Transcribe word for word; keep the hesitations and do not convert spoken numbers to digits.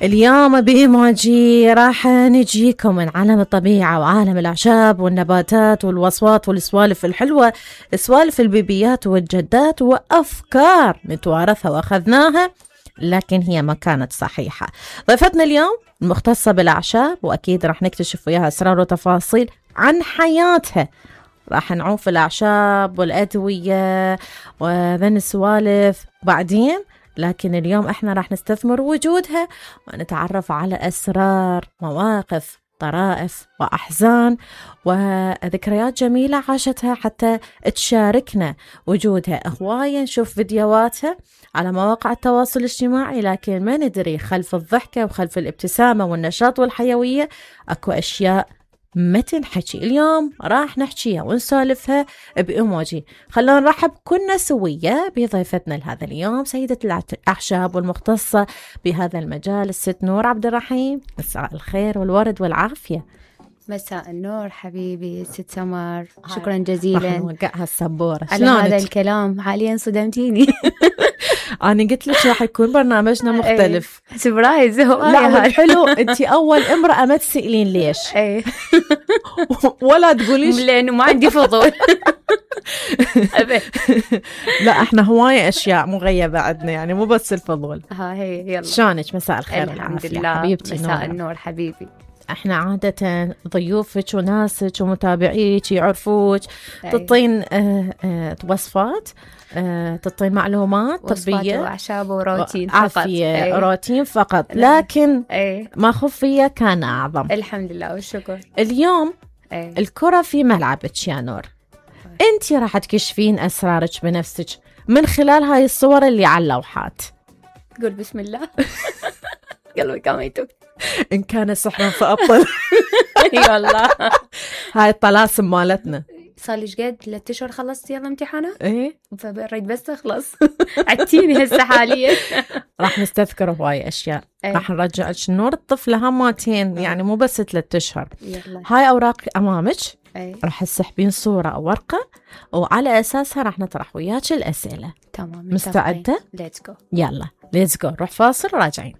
اليوم بإيموجي راح نجيكم من عالم الطبيعة وعالم الأعشاب والنباتات والوصفات والسوالف الحلوة، سوالف البيبيات والجدات وأفكار نتوارثها وأخذناها لكن هي ما كانت صحيحة. ضيفتنا اليوم المختصة بالأعشاب، وأكيد راح نكتشف وياها أسرار وتفاصيل عن حياتها. راح نعوف الأعشاب والأدوية وذن السوالف بعدين، لكن اليوم احنا راح نستثمر وجودها ونتعرف على أسرار، مواقف، طرائف وأحزان وذكريات جميلة عاشتها حتى تشاركنا وجودها. هواية نشوف فيديوهاتها على مواقع التواصل الاجتماعي، لكن ما ندري خلف الضحكة وخلف الابتسامة والنشاط والحيوية أكو أشياء ما تنحكي. اليوم راح نحكيها ونسولفها بإيموجي. خلونا نرحب كلنا سوية بضيفتنا لهذا اليوم، سيدة الأعشاب والمختصة بهذا المجال الست نور عبد الرحيم. مساء الخير والورد والعافية. مساء النور حبيبي ست سمر، شكرا جزيلا. راح نوقعها السبورة على هذا الكلام، حاليا صدمتيني. أنا قلت لك راح يكون برنامجنا مختلف. سبرايز. لا حلو، أنت أول امرأة ما تسألين ليش ايه ولا تقوليش لأنه ما عندي فضول. لا احنا هواية أشياء مغيبة عندنا، يعني مو بس الفضول. ها هي يلا. شانك؟ مساء الخير. الحمد لله حبيبتي. مساء النور حبيبي. احنا عادة ضيوفك وناسك ومتابعيك يعرفوك تعطين اه اه وصفات، اه تعطين معلومات طبية وأعشاب وروتين فقط. عافية أيه. روتين فقط، لكن أيه. ما خفية كان أعظم. الحمد لله والشكر. اليوم أيه. الكرة في ملعبك يا نور. انتي راح تكشفين أسرارك بنفسك من خلال هاي الصور اللي على اللوحات. قول بسم الله. قلبي كميتك. إن كان سحرا فأبطل. اي والله. هاي الطلاسم مالتنا. صار لي قد ثلاث اشهر خلصت يلا امتحانات. ايه فبريد بس اخلص. عدتيني هسه حاليا. راح نستذكر هواي اشياء. ايه. راح نرجع نور الطفله هماتين، يعني مو بس ثلاث اشهر. يلا. هاي اوراق امامك. ايه. راح تسحبين صوره او ورقه وعلى اساسها راح نطرح وياك الاسئله. تمام. مستعده؟ ليتس جو. يلا ليتس جو. نروح فاصل وراجعين.